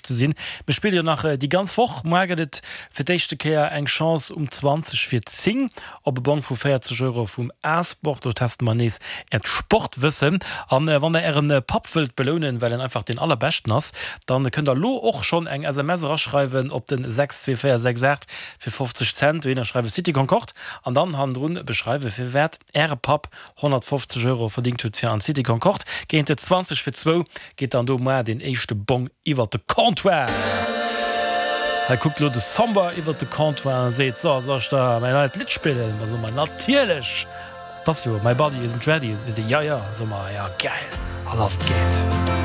ze sinn. Mir spille jo nach déi ganz Woch. Muar gëtt et fir d'éischte Kéier eng Chance um 20 vir 10 op e Bong vu 40 Euro vum A-Sport. Do teste mer nees äert Sportwëssen. An wann der ären Papp wëllt belounen, well en einfach deen allerbeschten ass, dann kënnt der elo och schonn eng SMS eraschreiwen op den 62468 fir 50 Cent. Dohinner schreiwe City Concorde an dann hannendrun beschreiwe firwat Äre Papp 150 Euro verdingt hutt fir an d'City Concorde. Géint 20 fir zwou geet dann do moar deen éischte Bong iwwert de Comptoir. Hei kuckt elo de Somber iwwert de Comptoir a seet, So, soll ech der mäin neit Lidd spillen? Da soe mer, Natierlech! 't ass jo My Body Isn't Ready. Seet e, Jo, jo. Soe mer, Jo, gäil! A lass geet.